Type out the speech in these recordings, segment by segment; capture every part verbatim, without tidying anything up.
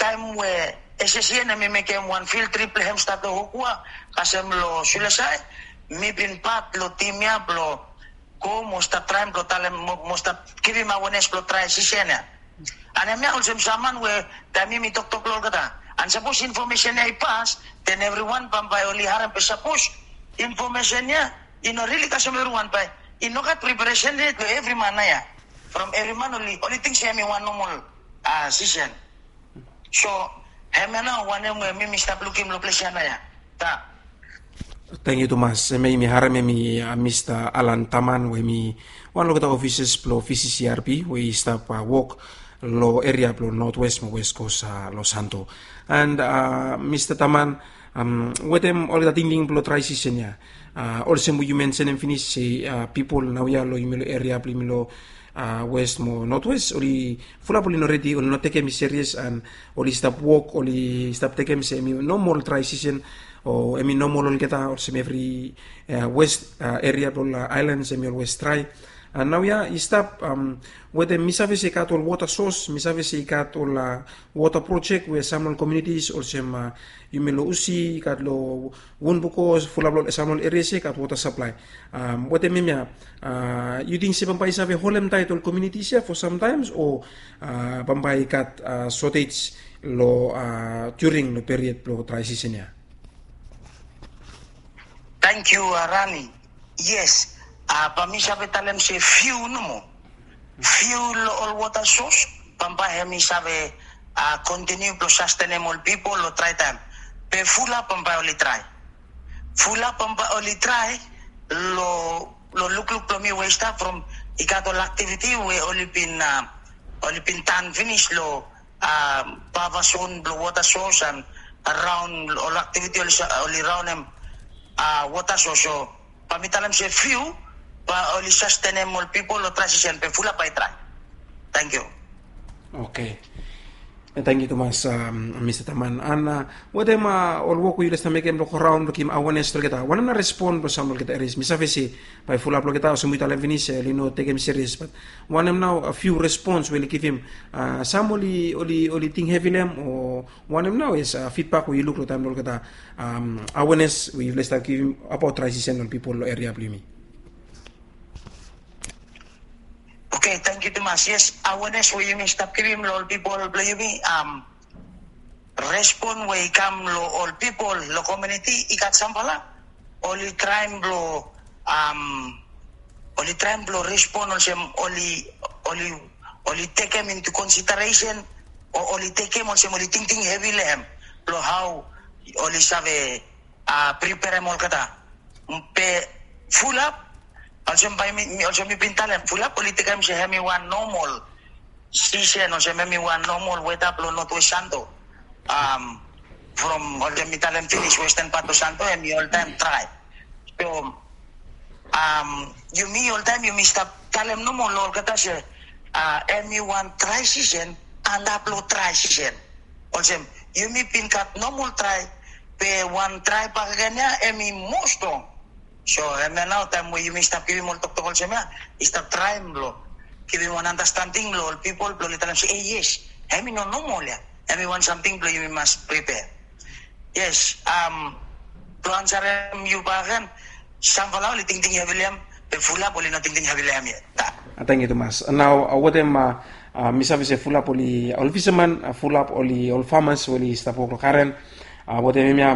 taem we SSCN hemi mekem wan field trip blong hem stap long Hokua kasem long Sulesai, mi bin pat long tim ya blong go mo stap traem blong talem mo stap givim awenes blong dry season ya. An hemia olsem sam man we taem yumi toktok long olgeta, an sapos infomesen ya i pas, then evriwan bambae oli harem. Be sapos infomesen ya i no rili kasem evriwan bae i no gat preparesen yet long evri man nao ya. From evri man oli ting se hemi wan nomol season. So hemia nao wanem we mi mi stap lukim long ples ya nao ya. Tang. Tangkiu tumas. Hemia yumi harem hemi Mista Alan Taman we hemi wan long olgeta ofisas blong VCCRP we i stap wok long eria blong Notwest mo Westkos long Santo. An Mista Taman, wetem olgeta tingting blong dry season ya, olsem we yu mensenem finis se pipol naoia long yumi long eria blong yumi long West mo Notwest oli fulap oli no redi, oli no tekem i serias, an oli stap wok, oli stap tekem se hemi nomol dry season o hemi nomol olgeta olsem evri West eria blong ol aelan hemi olwes dry. An naoia i stap wetem, mi save se i gat ol wota sos, mi save se i gat ol wota projek we sam long ol komunitis olsem yumi long Usi, i gat long Wunbukos, fulap long sam long ol erias ya i gat wota saplae. Wetem hemia, yu ting se bambae i save holem taet ol komunitis ya fo samtaems o bambae i gat sotej long during long period blong dry season ya? Tangkiu Rani. Yes, bae mi save talem se fiu nomo, fiu long ol wota sos bambae hemi save kontiniu blong sastenem ol pipol long dry taem. Be fulap bambae oli dry, fulap bambae oli dry. Long lukluk blong mi we i stap from, i gat ol aktiviti we oli bin, oli bin tan finis long bava zon blong wota sos an raon ol aktiviti oli raonem wota sos. So bae mi talem se fiu bae oli sastenem ol pipol long dry season, be fulap bae i dry. Tangkiu. Oke. Tangkiu tumas Mista Taman. An wetem ol wok we yufala stap mekem blong go raon blong givim awenes long olgeta, wanem nao respon blong sam long olgeta erias? Mi save se bae fulap long olgeta olsem we yu talem finis oli no tekem serias, bat wanem nao fiu respons we oli givim? Sam oli, oli ting hevi long hem o wanem nao as fidbak we yu luk long taem long olgeta awenes we yufala stap givim abaot dry season long ol pipol long eria blong yumi? Oke, tangkiu tumas. Yes, awenes we yumi stap givim long ol pipol blong yumi, respon we i kam long ol pipol long komuniti, i gat samfala oli traem blong, oli traem blong respon olsem oli, oli, oli tekem into consideration o oli tekem olsem oli tingting hevi long hem blong hao oli save preperem olgeta. Be fulap, olsem bae mi, olsem mi bin talem, fulap oli tekem se hemi wan nomol season olsem hemi wan nomol weta blong Notwest Santo. From olsem mi talem finis, westen pat blong Santo hemi oltaem dry. So yumi oltaem yumi stap talem nomo long olgeta se hemi wan dry season antap long dry season. Olsem yumi bin gat nomol dry, be wan dry bakegen ya hemi moa strong. So hemia nao taem we yumi stap givim ol toktok olsem ya, i stap traem blong givim wan andastanding long ol pipol blong oli talem se, e yes, hemi no nomol ya, hemi wan samting blong yumi mas pripea. Yes, blong ansarem yu bakegen, samfala oli tingting hevi long hem, be fulap oli no tingting hevi long hem yet. Tangkiu tumas. Nao wetem, mi save se fulap oli ol fisaman, fulap oli ol famas we oli stap wok long garen. Wetem hemia,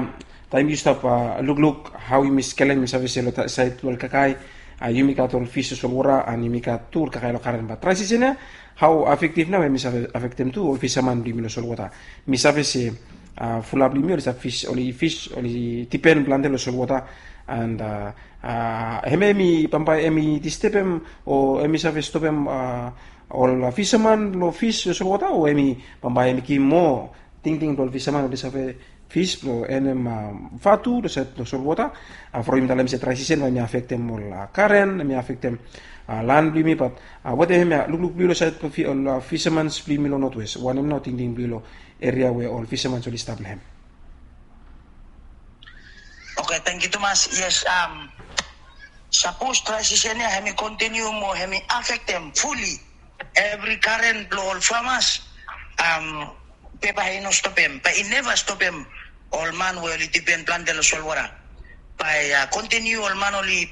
taem yu stap lukluk hao yumi skelem, mi save se long saed blong ol kakae, yumi gat ol fis long solwota an yumi gat tu ol kakae long garen, bat dry season ya hao afektif nao hemi save afektem tu ol fisaman blong yumi long solwota? Mi save se fulap blong yumi oli stap fis, oli fis, oli dipen plante long solwota. An hemia hemi bambae hemi distebem o hemi save stopem ol fisaman long fis long solwota, o hemi bambae hemi givim moa tingting blong ol fisaman oli save fis blong enem vatu long saed blong solwota? From yumi talem se dry season bae hemi afektem ol garen, hemi afektem lan blong yumi, bat wetem hemia lukluk blong yu long saed blong ol fisamans blong yumi long Notwest, wanem nao tingting blong yu long eria we ol fisamans oli stap long hem? Oke, tangkiu tumas. Yes, sapos dry season ya hemi kontiniu mo hemi afektem fuli evri garen blong ol famas, Pepa i no stopem, bae i neva stopem ol man we oli dipen plante long solwota. Bae kontiniu ol man oli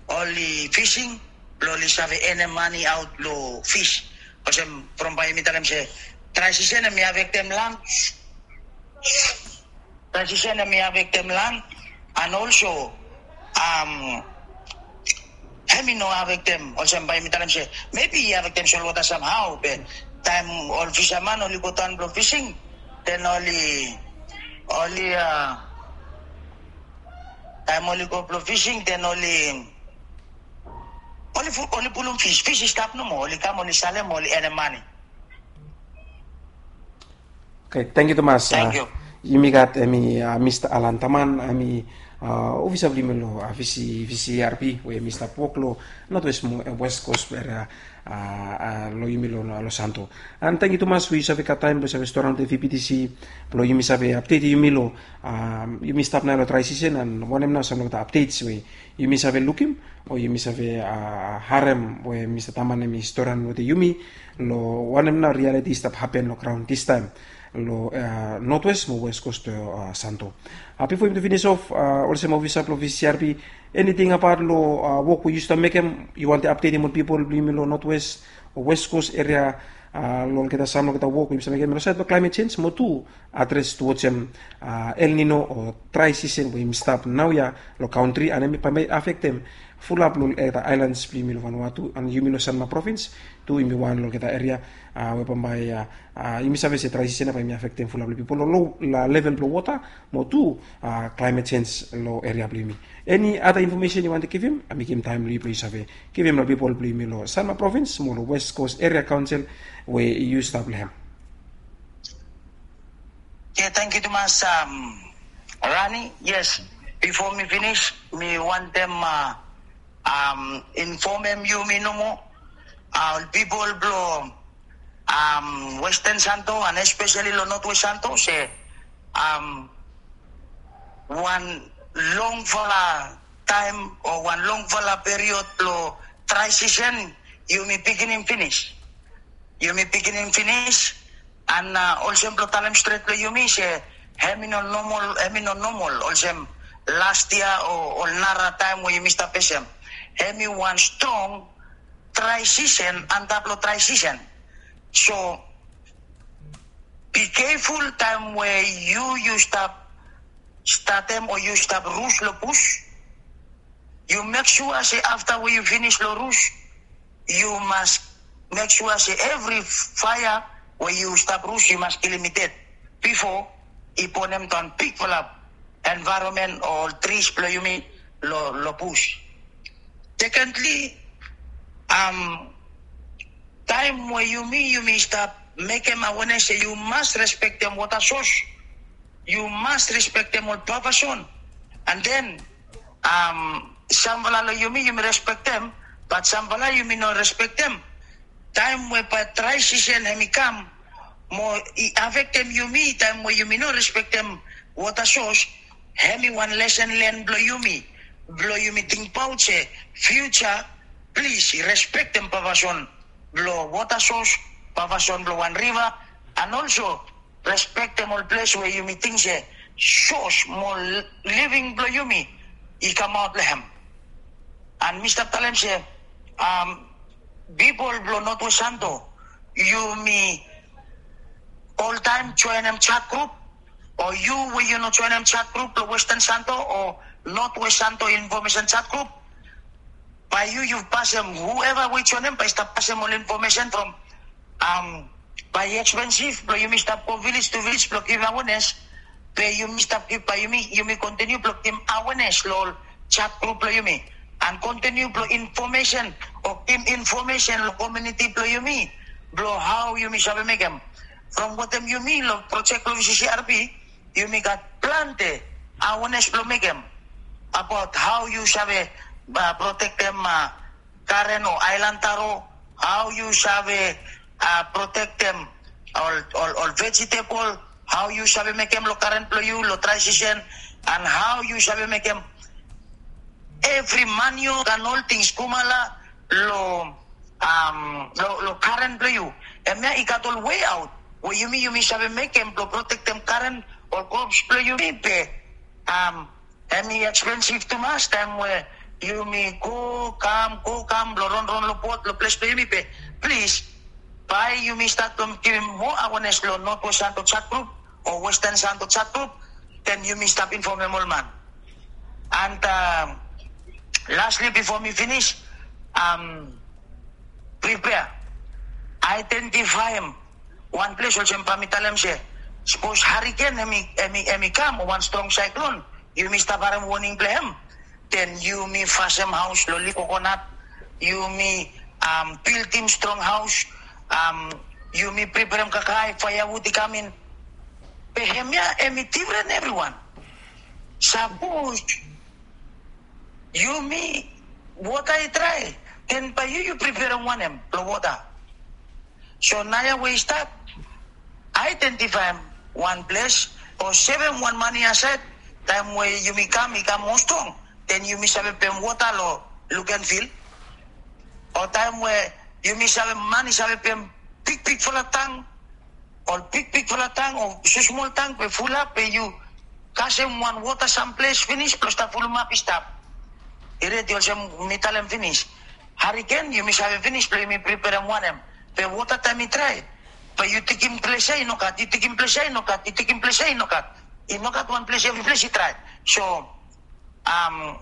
oli fising blong oli save enem mane aot long fis. Olsem from bae yumi talem se drai sisen hemi afektem lan. Drai sisen hemi afektem lan. And also, um, hemi no afektem, olsem bae yumi talem se mebi i afektem solwota samhao, be taem ol fisaman oli go daon blong fising, den oli oli a taem oli go blong fising, den oli oli fu- oli pulum fis, fis i stap nomo, oli kam, oli salem, oli enem mane. Okay, tangkiu tumas. Tangkiu. Yumi gat hemi Mista Alan Taman, hemi ofisa blong yumi long VCRP we hemi stap wok long Northwest mo West Coast eria long yumi long Santo. And tangkiu tumas we yu save gat taem blong save storam long VPTC blong yumi save apdetim yumi long yumi stap nao long drai sisen, and wanem nao sam long olgeta apdets we yumi save lukim o yumi save harem we Mista Taman hemi storam wetem yumi long wanem nao rialiti i stap hapen long graon distaem long Northwest mo West Coast Santo. Bifo yumi tu finis of, olsem ofisa blong VCRP, eniting abaot long wok we yu stap mekem, yu wantem apdetim ol pipol blong yumi long Northwest o West Coast eria long olgeta sam long olgeta wok we yumi stap mekem long saed blong climate change mo tu adres tu olsem El Nino o drai sisen we yumi stap naoia long kantri, and hemi bae afektem fulap long olgeta aelans blong yumi long Vanuatu and yumi long Sanma provins tu yumi wan long olgeta eria we bambae yumi save se drai sisen ya bae yumi afektem fulap long pipol long lo level blong wota mo tu climate change long eria blong yumi. Eni ada infomesen yu wantem givim, mekem taem long yu blong yu save givim long pipol blong yumi long Sanma provins mo long West Coast Eria Kaonsel we yu stap long hem. Ye, tangkiu tumas, Rani. Yes, bifo mi finis mi wantem infomem yumi nomo, ol pipol blong Western Santo and especially long Northwest Santo se wan longfala taem o wan longfala period blong drai sisen yumi pikinim finis. Yumi pikinim finis, and olsem blong talem stret long yumi se hemi no nomol, hemi no nomol olsem las yia o ol nara taem we yumi stap fesem. Hemi wan strong drai sisen antap long drai sisen. So be keful taem we yu yu stap statem o yu stap rus long bus, yu mek sua se afta we yu finis long rus, yu mas mek sua se evri faea we yu stap rus yu mas kilim i ded bifo i bonem daon bigfala envaeronmen o ol tris blong yumi long bus. Sekendli, taem we yumi yumi stap mekem awenes se yu mas respektem wota sos, yu mas respektem ol papa son, and then samfala long yumi yumi respektem, bat samfala yumi no respektem. Taem we bae drai sisen hemi kam mo i afektem yumi taem we yumi no respektem wota sos, hemi wan lesen len blong yumi blong yumi tingbaot se fiuja, plis respektem papa son blong wota sos, papa son blong wan riva, and also respektem ol ples we yumi ting se sos mo living blong yumi i kamaot long hem. And mi stap talem se pipol blong Northwest Santo, yumi oltaem joenem chat grup, o yu we yu no joenem chat grup blong Western Santo o Northwest Santo Information Chat Grup, bae yu yu pasem, whoever we i joenem bae i stap pasem ol infomesen from bae i ekspensif blong yumi stap go vilej tu vilej blong givim awenes. Be yumi stap givim, bae yumi yumi kontiniu blong givim awenes long ol chat grup blong yumi, and kontiniu blong infomesen o givim infomesen long komuniti blong yumi blong hao yumi save mekem. From wetem yumi long projek blong VCCRP, yumi gat plante awenes blong mekem abaot hao yu save protektem garen o aelan taro, hao yu save protektem ol vejetebol, hao yu save mekem long garen blong yu long drai sisen, and hao yu save mekem evri maniok and ol tings kumala long long garen blong yu. Hemia i gat ol weaot we yumi yumi save mekem blong protektem karen ol krops blong yumi be, um, hemi ekspensiv tumas taem we yumi go kam go kam blong ronron long bot long ples blong yumi be, plis, bae yumi stat blong givim moa awenes long Northwest Santo Chat Group o Western Santo Chat Group, den yumi stap infomem ol man. And, um, lastly bifo mi finis, um, prepare, identifaem wan ples olsem bae mi talem se, sapos hariken hemi hemi hemi kam o wan strong saeklon, yumi stap harem woning blong hem, den yumi fasem haos long lif kokonat, yumi, um, bildim strong haos, um, yumi preperem kakae, faeawud i kam in. Be hemia hemi difren evriwan. Sapos yumi wota i drae, den bae yu yu preperem wanem blong wota? So naoia we i stap, aedentifaem wan ples o sevem wan mane asaed, taem we yumi kam i kam moa strong, den yumi save pem wota long Lukenvil. O taem we yumi save, man i save pem bigbigfala tang, ol bigbigfala tang o smosmol tang be fulap be yu kasem wan wota samples finis blong stap fulumap i stap. I redi olsem mi talem finis. Hariken yumi save finis blong yumi preperem wanem? Be wota taem i drae, be yu tikim ples ia i nogat, yu tikim ples ia i nogat, yu tikim ples ia i nogat. I nogat wan ples, evri ples i drae. So, um,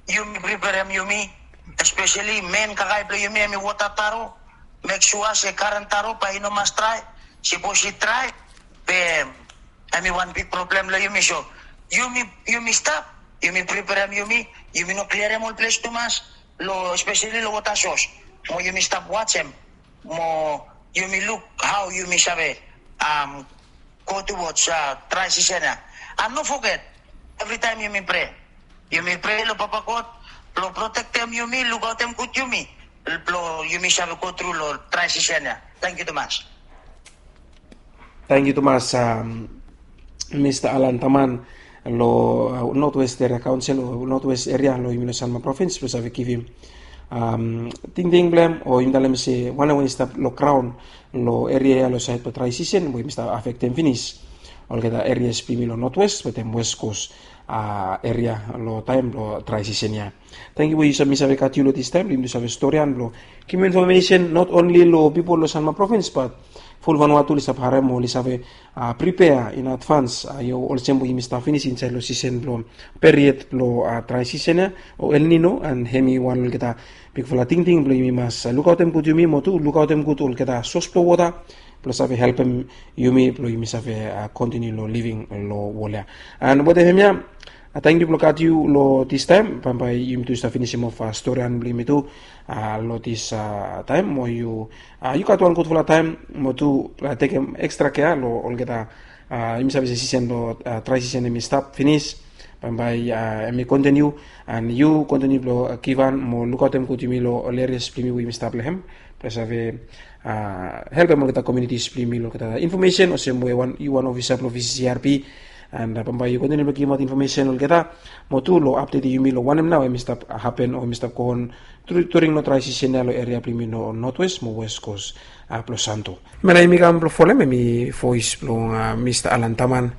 yumi preperem yumi, espeseli men kakae blong yumi hemi wota taro. Mek sua se karen taro bae i no mas drae. Sapos i drae, be hemi wan big problem long yumi. So yumi yumi stap, yumi preperem yumi, yumi no kliarem ol ples tumas long, espeseli long wota sos. Mo yumi stap wajem, mo yumi luk hao yumi save, um, go towards, uh, drae sisen ia. And no foget, evritaem yumi prea. Yumi prea long Papa God blong protektem yumi, lukaotem gud yumi, blong yumi save go tru long drae sisen ia. Tangkiu tumas. Tangkiu tumas, um, Mista Alan Taman long, uh, Northwest Area Council o Northwest Area long yumi long Sanma Province blong save givim, um, tingting blong hem o yumi talem se wanem we i stap long graon long eria ia long saed blong drae sisen we yumi stap afektem finis olgeta erias blong yumi long Northwest wetem West Coast, uh, eria long taem blong drae sisen ia. Tangkiu we yu save, mi save gat yu long distaem blong yumi tu save storian blong givim infomesen not only long pipol long Sanma Province but ful Vanuatu oli stap harem o oli save, uh, prepare in advance, uh, io, olsem we yumi stap finis insaed long sisen blong period blong, uh, drae sisen ia o El Nino, and hemi wan olgeta bigfala tingting blong yumi mas, uh, lukaotem gud yumi mo tu lukaotem gud olgeta sos blong wota blong save helpem yumi blong yumi save, uh, kontiniu long living long wol ia. And wetem hemia, uh, tangkiu blong gat yu long distaem, bambae yumi tu stap finisim of, uh, storian blong yumi tu, uh, long dis, uh, taem mo yu, uh, yu gat wan gudfala taem mo tu, uh, tekem ekstra kea long olgeta, uh, yumi save se sisen blong, uh, drae sisen hemi stap finis. Bambae, uh, hemi kontiniu, and yu kontiniu blong, uh, givhan mo lukaotem gud yumi long ol erias blong yumi we yumi stap long hem blong save, uh, helpem olgeta komunitis blong yumi long olgeta infomesen olsem we wan, yu wan ofisa blong V C C R P, and, uh, bambae yu kontiniu blong givimaot infomesen olgeta mo tu long apdetem yumi long wanem nao hemi stap hapen o hemi stap go on during long drae sisen ia long eria blong yumi long Northwest mo West Coast, uh, blong Santo. Hemia nao yumi kam blong folem hemi voes blong, uh, Mista Alan Taman,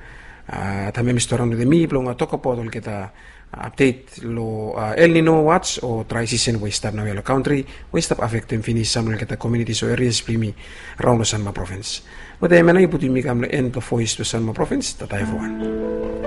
uh, taem hemi storian wetem mi blong, uh, tokbaot olgeta, uh, apdet long, uh, El Nino watch o drae sisen we i stap naoia long kantri we i stap afektem finis sam long olgeta komunitis o erias blong yumi raon long Sanma Province. Wetem hemia nao i putum yumi kam long en blong voes blong Sanma Province. Tata evriwan.